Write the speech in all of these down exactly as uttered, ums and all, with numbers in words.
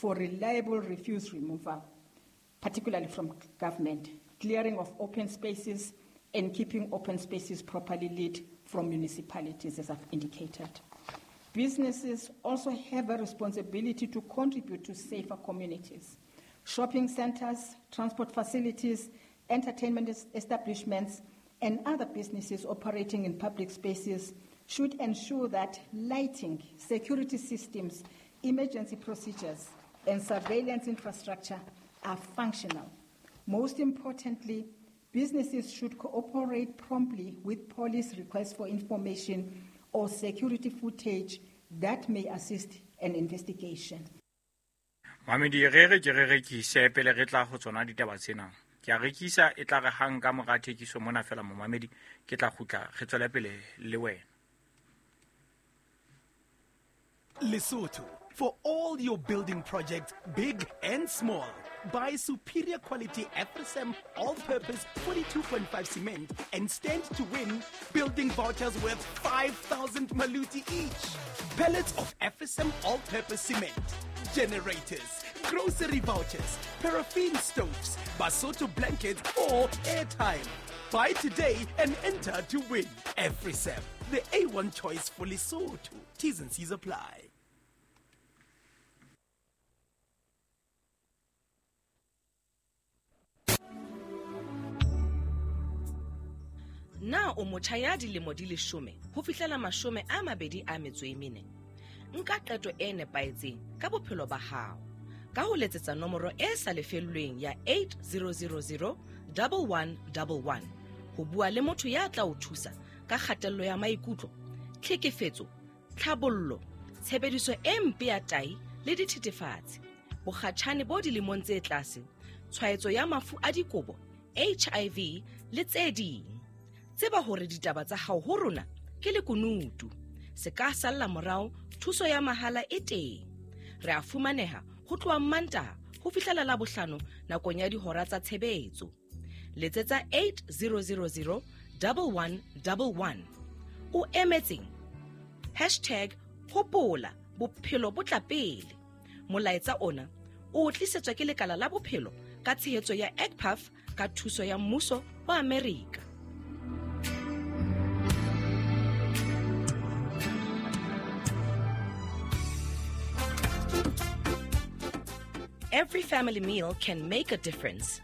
for reliable refuse removal, particularly from government, clearing of open spaces and keeping open spaces properly lit from municipalities, as I've indicated. Businesses also have a responsibility to contribute to safer communities. Shopping centers, transport facilities, entertainment establishments, and other businesses operating in public spaces should ensure that lighting, security systems, emergency procedures, and surveillance infrastructure are functional. Most importantly, businesses should cooperate promptly with police requests for information or security footage that may assist an investigation. Mamedi re re ke re rekise pele re tla ho tsona ditaba tsena. Ke a rekisa e tla re hang ka mora thekiso mona fela momamedi ke tla kgutla re tswele pele le wena. Lesotho, for all your building projects, big and small. Buy superior quality Afrisam all-purpose forty-two point five cement and stand to win building vouchers worth five thousand maluti each. Pallets of Afrisam all-purpose cement, generators, grocery vouchers, paraffin stoves, Basotho blankets or airtime. Buy today and enter to win. Afrisam, the A one choice for Lesotho. T's and C's apply. Na o motjha ya dilemo di leshome ho fihlela mashome a mabedi a metso e mene? Nka qeto e nepahetseng ka bophelo ba hao ka ho letsetsa nomoro e sa lefellweng ya eight zero zero zero one one one one ho bua le motho ya tla o thusa ka kgatello ya maikutlo, tlhekefetso, tlhabollo, tshebediso e mpe ya tahi le dithethefatsi, bokgatjhane bo dilemong tse tlase, tshwaetso ya mafu a dikobo, H I V le tse ding. Tseba hore ditaba tsa hao ho rona ke lekunutu. Se ka salla morao, thuso ya mahala e teng. Re a fumaneha ho tloha Mantaha ho fihlela Labohlano nakong ya dihora tsa tshebetso. Letsetsa eight zero zero zero one one one one. O emetseng? Hashtag hopola bophelo bo tla pele. Molaetsa ona o tlisetswa ke lekala la bophelo ka tshehetso ya E C P A F ka thuso ya mmuso wa Amerika. Every family meal can make a difference.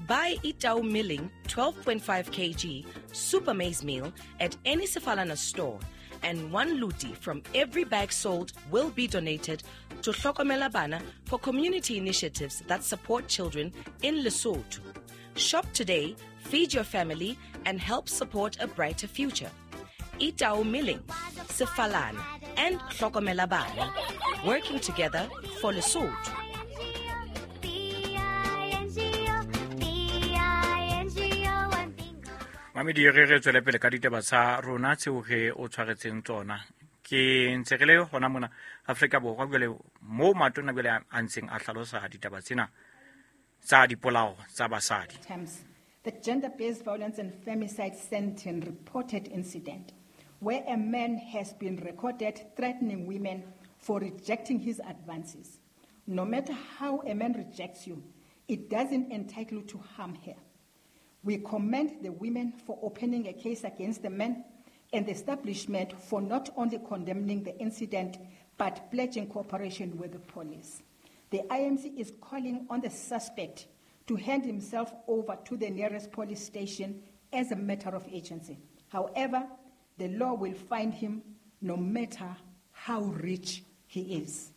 Buy Itau Milling twelve point five kilograms Super Maize Meal at any Sefalana store, and one luti from every bag sold will be donated to Hlokomela Bana for community initiatives that support children in Lesotho. Shop today, feed your family, and help support a brighter future. Itau Milling, Sefalana, and Hlokomela Bana, working together for Lesotho. Mamedi re re tswele pele ka ditaba tsa rona tseo re o tshwaretseng tsona. Ke ntse re le hona mona Afrika Borwa jwale mo matona jwale a ntseng a hlalosa ditaba tsena tsa dipolao tsa basadi. The gender-based violence and femicide Sandton reported incident where a man has been recorded threatening women for rejecting his advances. No matter how a man rejects you, it doesn't entitle you to harm her. We commend the women for opening a case against the men and the establishment for not only condemning the incident, but pledging cooperation with the police. The I M C is calling on the suspect to hand himself over to the nearest police station as a matter of urgency. However, the law will find him no matter how rich he is.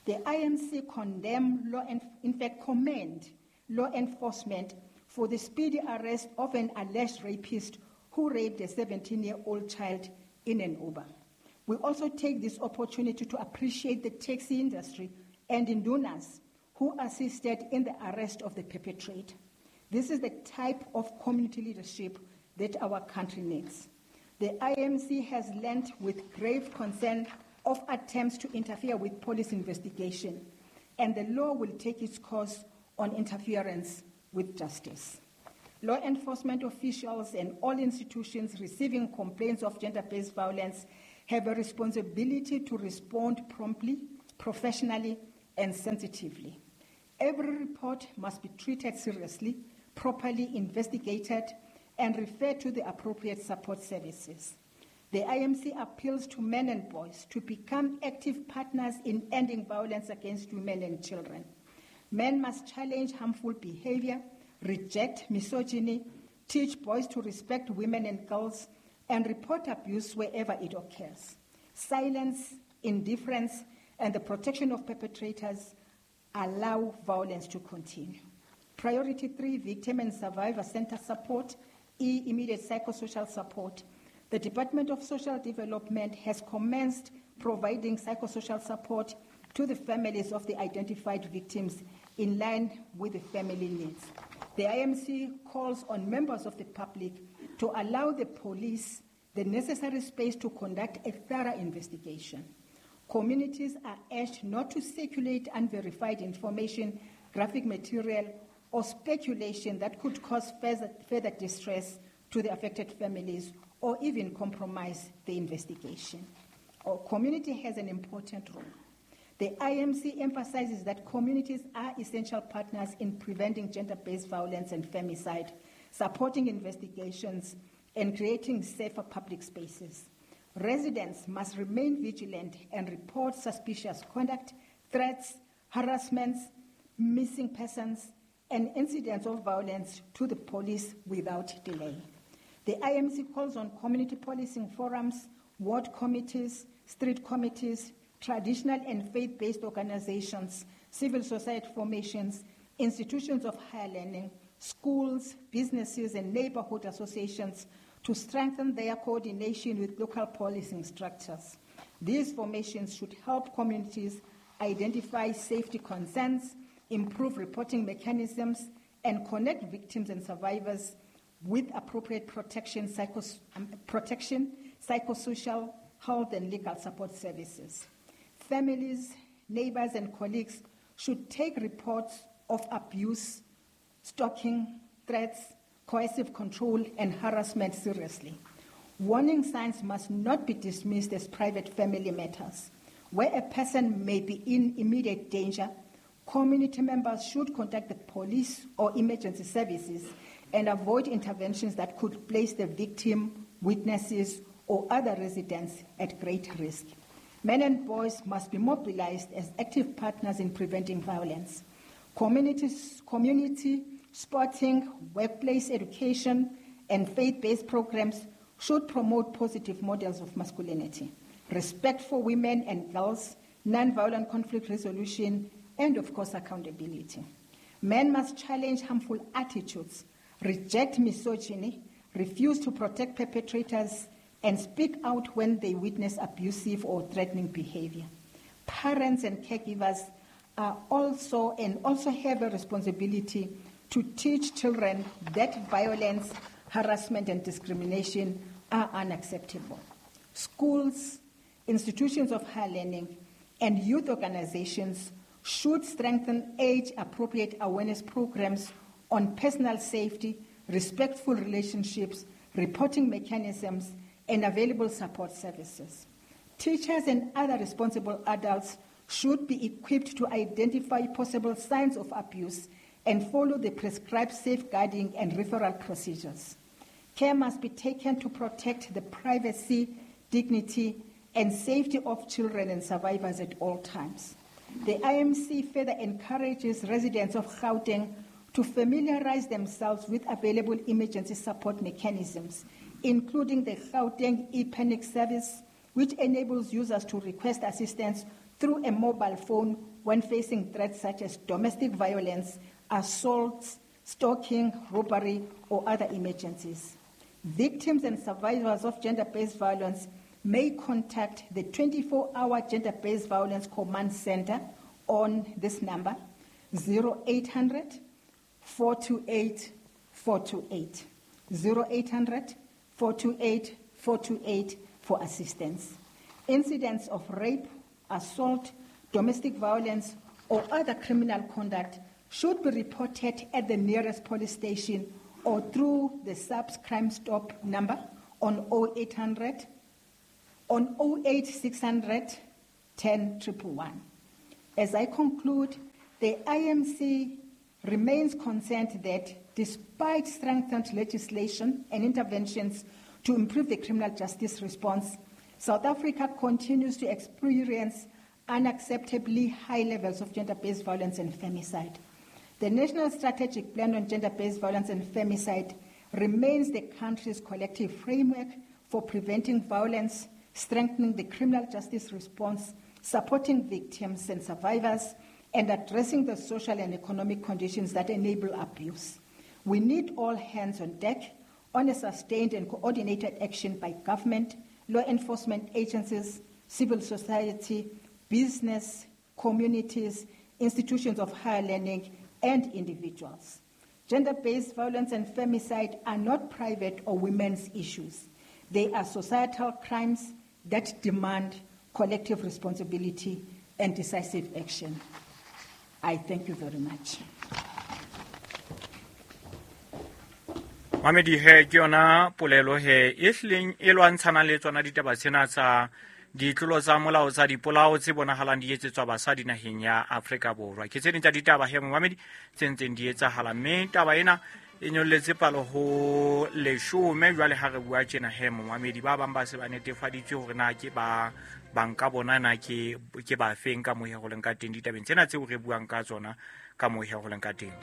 The I M C condemn law and, in fact, commend law enforcement for the speedy arrest of an alleged rapist who raped a seventeen-year-old child in an Uber. We also take this opportunity to appreciate the taxi industry and Indunas who assisted in the arrest of the perpetrator. This is the type of community leadership that our country needs. The I M C has learned with grave concern of attempts to interfere with police investigation, and the law will take its course on interference with justice. Law enforcement officials and all institutions receiving complaints of gender-based violence have a responsibility to respond promptly, professionally, and sensitively. Every report must be treated seriously, properly investigated, and referred to the appropriate support services. The I M C appeals to men and boys to become active partners in ending violence against women and children. Men must challenge harmful behavior, reject misogyny, teach boys to respect women and girls, and report abuse wherever it occurs. Silence, indifference, and the protection of perpetrators allow violence to continue. Priority three, victim and survivor center support, E, immediate psychosocial support. The Department of Social Development has commenced providing psychosocial support to the families of the identified victims in line with the family needs. The I M C calls on members of the public to allow the police the necessary space to conduct a thorough investigation. Communities are urged not to circulate unverified information, graphic material, or speculation that could cause further, further distress to the affected families or even compromise the investigation. Our community has an important role. The I M C emphasizes that communities are essential partners in preventing gender-based violence and femicide, supporting investigations, and creating safer public spaces. Residents must remain vigilant and report suspicious conduct, threats, harassments, missing persons, and incidents of violence to the police without delay. The I M C calls on community policing forums, ward committees, street committees, traditional and faith-based organizations, civil society formations, institutions of higher learning, schools, businesses, and neighborhood associations to strengthen their coordination with local policing structures. These formations should help communities identify safety concerns, improve reporting mechanisms, and connect victims and survivors with appropriate protection, psychos-, um, protection, psychosocial, health, and legal support services. Families, neighbors, and colleagues should take reports of abuse, stalking, threats, coercive control, and harassment seriously. Warning signs must not be dismissed as private family matters. Where a person may be in immediate danger, community members should contact the police or emergency services and avoid interventions that could place the victim, witnesses, or other residents at great risk. Men and boys must be mobilized as active partners in preventing violence. Communities, community, sporting, workplace education, and faith-based programs should promote positive models of masculinity, respect for women and girls, non-violent conflict resolution, and of course, accountability. Men must challenge harmful attitudes, reject misogyny, refuse to protect perpetrators, and speak out when they witness abusive or threatening behavior. Parents and caregivers are also and also have a responsibility to teach children that violence, harassment, and discrimination are unacceptable. Schools, institutions of higher learning, and youth organizations should strengthen age-appropriate awareness programs on personal safety, respectful relationships, reporting mechanisms, and available support services. Teachers and other responsible adults should be equipped to identify possible signs of abuse and follow the prescribed safeguarding and referral procedures. Care must be taken to protect the privacy, dignity, and safety of children and survivors at all times. The I M C further encourages residents of Gauteng to familiarize themselves with available emergency support mechanisms, including the Gauteng e-Panic service, which enables users to request assistance through a mobile phone when facing threats such as domestic violence, assaults, stalking, robbery, or other emergencies. Victims and survivors of gender-based violence may contact the twenty-four hour Gender-Based Violence Command Center on this number, zero eight hundred, four two eight, four two eight. zero eight hundred, four two eight, four two eight for assistance. Incidents of rape, assault, domestic violence, or other criminal conduct should be reported at the nearest police station or through the SAPS Crime Stop number on oh eight hundred, on oh eight six hundred, ten triple one. As I conclude, the I M C remains concerned that despite strengthened legislation and interventions to improve the criminal justice response, South Africa continues to experience unacceptably high levels of gender-based violence and femicide. The National Strategic Plan on Gender-Based Violence and Femicide remains the country's collective framework for preventing violence, strengthening the criminal justice response, supporting victims and survivors, and addressing the social and economic conditions that enable abuse. We need all hands on deck on a sustained and coordinated action by government, law enforcement agencies, civil society, business, communities, institutions of higher learning, and individuals. Gender-based violence and femicide are not private or women's issues. They are societal crimes that demand collective responsibility and decisive action. I thank you very much. Mamedi he ke yona polelo he e hlileng e lwantshana le tsona ditaba tsena tsa ditlolo tsa molao tsa dipolao tse bonahalang di etsetswa basadi naheng ya Afrika Borwa. Ke tse ding tsa ditaba he momamedi tse ntseng di etsahala, mme taba ena e nyolletse palo ho leshome jwale ha re bua tjena he momamedi. Ba bang ba se ba netefaditswe hore na ke ba banka bona na ke ke ba feng ka mohe ho leng ka teng ditabeng tsena tseo re buang ka tsona ka mohe ho leng ka teng.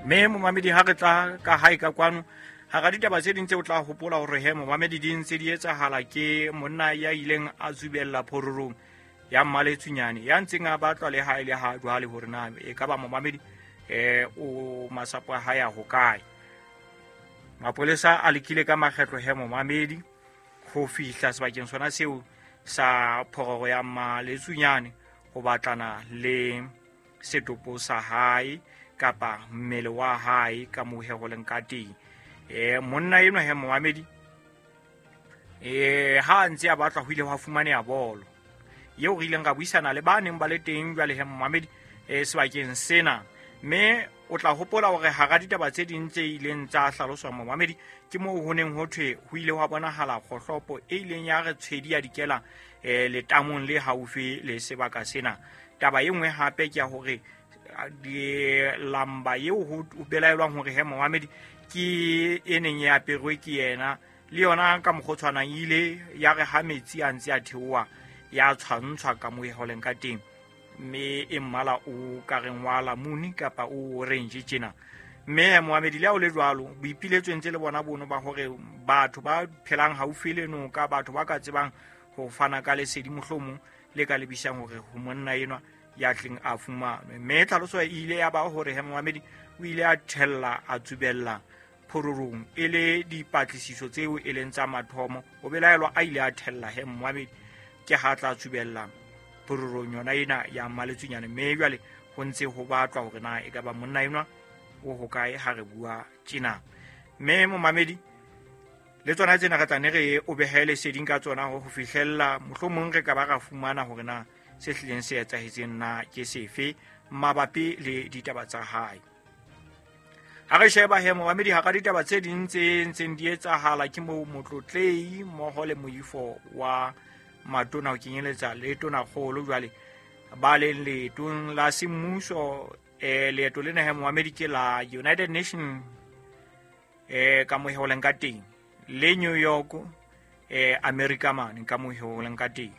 Mme momamedi ha re tla ka hae ka kwano hara ditaba tse ding tse o tla hopola hore he momamedi di ntse di etsahala ke monna ya ileng a tsubella phororong ya Mmaletsunyane ya ntseng a batlwa le ha ile ha jwale hore na e ka ba momamedi eh o masapo a hae a hokae. Mapolesa a lekile ka makgetlo he momamedi ho fihla sebakeng sona seo sa phororo ya Mmaletsunyane ho batlana le setopo sa hae kapa mmele wa hae ka mohe ho leng ka teng. Eh monna enwa he momamedi eh ha ntse a batla ho ile hwa fumaneha bolo eo re ileng ra buisana le ba neng ba le teng jwale he momamedi eh sebakeng sena. Mme o tla hopola hore hara ditaba tse ding tse ileng tsa hlaloswa momamedi ke moo ho neng ho thwe ho ile hwa bonahala kgohlopo e ileng ya re tshwedi ya dikela eh letamong le haufi le sebaka sena. Taba e nngwe hape ke ya hore di lamba eo ho belaelwang hore he momamedi ke e neng e aperwe ke yena le yona ka mokgwa o tshwanang ile ya re ha metsi a ntse a theoha ya tshwantshwa ka moo e holeng ka teng, mme e mmala o ka reng wa lamuni kapa o orange tjena. Mme momamedi le ha o le jwalo boipiletso ntse le bona bono ba hore batho ba phelang haufi le noka, batho ba ka tsebang ho fana ka lesedi mohlomong le ka lebisang hore ho monna enwa ya tleng a fumanwe. Mme tlhaloso e ile ya ba hore he momamedi o ile a thella a tsubella phororong e le dipatlisiso tseo e leng tsa mathomo. O belaelwa a ile a thella he momamedi ke ha tla tsubella phororong yona ena ya Mmaletsunyane. Mme jwale ho ntse ho batlwa hore na e ka ba monna enwa o hokae ha re bua tjena. Mme momamedi le tsona tsena re tla ne re o behe leseding ka tsona ho fihlella mohlomong re ka ba ra fumana hore na se hlileng se etsahetseng na ke sefe mabapi le ditaba tsa hae. Ha re sheba he momamedi hara ditaba tse ding tse ntseng di etsahala ke moo motlotlei mmoho le moifo wa matona ho kenyeletsa le tonakgolo jwale ba leng leetong la semmuso. Eh leeto lena he momamedi ke la United Nations eh ka mohe ho leng ka teng le New York eh America mane ka mohe ho leng ka teng.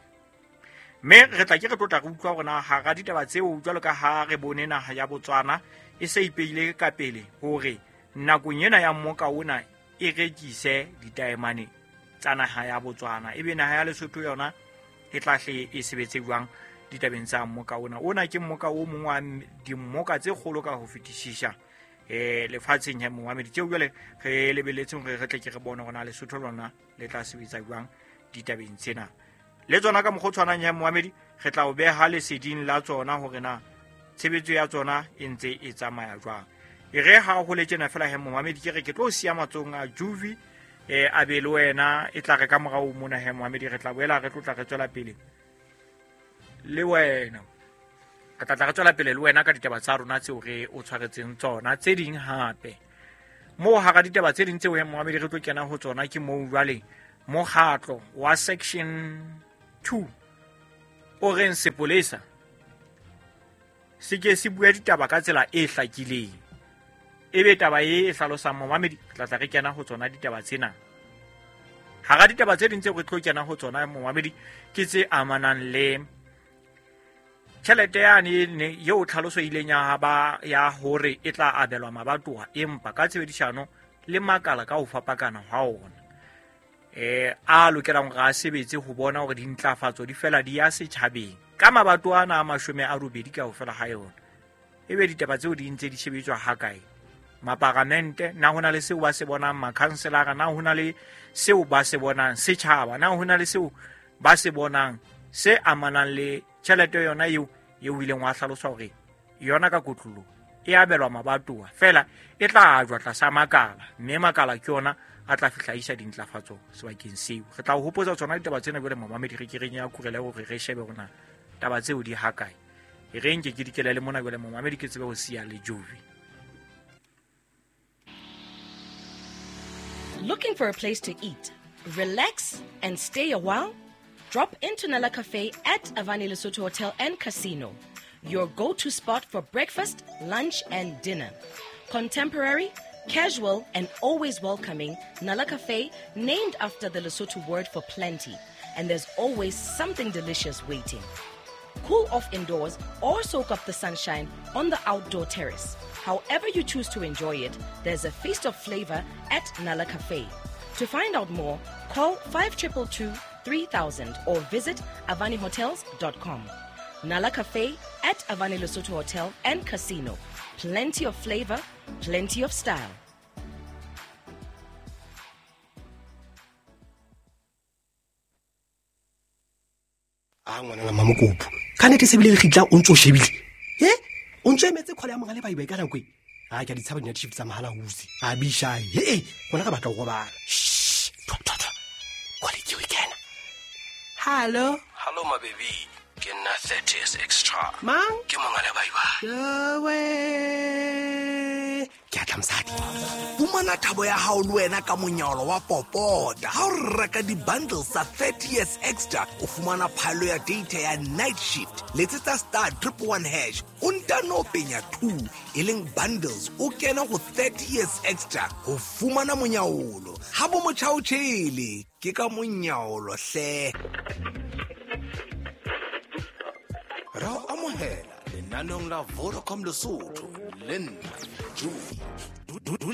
Mme re tla ke re tlotla re utlwa hore na hara ditaba tseo jwalo ka ha re bone naha ya Botswana e se ipeile ka pele hore nakong ena ya mmoka ona e rekise ditaemane tsa naha ya Botswana, ebe naha ya Lesotho yona e tla hle e sebetse jwang ditabeng tsa mmoka ona. Ona ke mmoka o mong wa dimmoka tse kgolo ka ho fetisisa eh lefatsheng ya momamedi tseo jwale re lebeletseng hore re tle ke re bone hore na Lesotho lona le tla sebetsa jwang ditabeng tsena. Le tsona ka mokgwa o tshwanang ya momamedi re tla o beha leseding la tsona hore na tshebetso ya tsona e ntse e tsamaya jwang. E re ha ho le tjena fela he momamedi ke re ke tlo siya matsohong a Juvi eh a be le wena e tla re ka morao mona he momamedi re tla boela re tlotla re tswela pele le wena. Re tla tla re tswela pele le wena ka ditaba tsa rona tseo re o tshwaretseng tsona tse ding hape. Moo hara ditaba tse ding tseo he momamedi re tlo kena ho tsona ke moo jwale mokgatlo wa section two o reng sepolesa se ke se bua ditaba ka tsela e hlakileng. Ebe taba e e hlalosang momamedi, tla tla re kena ho tsona ditaba tsena. Hara ditaba tse ding tseo re tlo kena ho tsona momamedi ke tse amanang le tjhelete yane eo tlhaloso ileng ya ba ya hore e tla abelwa mabatowa, empa ka tshebedisano le makala ka ho fapakana ha ona eh a lokelang hore a sebetse ho bona hore dintlafatso di fela di ya setjhabeng ka mabatowa ana a mashome a robedi kaofela ha yona. Ebe ditaba tseo di ntse di shebetswa ha kae? Maparamente na hona le seo ba se bonang, makhanselara na hona le seo ba se bonang, setjhaba na hona le seo ba se bonang se amanang le tjhelete yona eo eo ileng wa hlalosa hore yona ka kotlolo e abelwa mabatowa fela e tla ajwa tlasa makala, mme makala ke yona a tla fihla isa dintlafatso sebakeng seo. Re tla o hopotsa tsona ditaba tsena jwale momamedi, re ke re nya kurele hore re shebe hore na taba tseo di ha kae. E re nke ke dikele le mona jwale momamedi ke tsebe ho siya le Jovi. Looking for a place to eat, relax and stay a while? Drop into Nala Cafe at Avani Lesotho Hotel and Casino, your go-to spot for breakfast, lunch and dinner. Contemporary, casual and always welcoming, Nala Cafe, named after the Lesotho word for plenty, and there's always something delicious waiting. Cool off indoors or soak up the sunshine on the outdoor terrace. However you choose to enjoy it, there's a feast of flavor at Nala Cafe. To find out more, call five two two two three thousand or visit avani hotels dot com. Nala Cafe at Avani Lesotho Hotel and Casino. Plenty of flavor, plenty of style. A ngwana mamokopo ka nete se bile le gitla o ntse o shebile e o ntse emetse khole ya monga le baibai ka nako e a ke a di tshaba dina shift tsa mahala huse a bisha he gona ka batla go robala. Shh, thwa thwa thwa, khole ke o kena. Hello hello my baby, ke nna thirty years extra. Mang ke monga le baibai yowe ke a tla mosadi. Fumana thabo ya hao le wena ka monyalo wa popota. Ha o reka di-bundles tsa thirty years extra, o fumana phaello ya data ya night shift. Letsetsa star triple one hash, o ntano penya two, e leng bundles, o kena go thirty years extra ho fumana monyaolo. Ha bo motjha o tjhele, ke ka monyaolo hle. Ra o amohela lenaneong la Vodacom Lesotho le nna Jovi.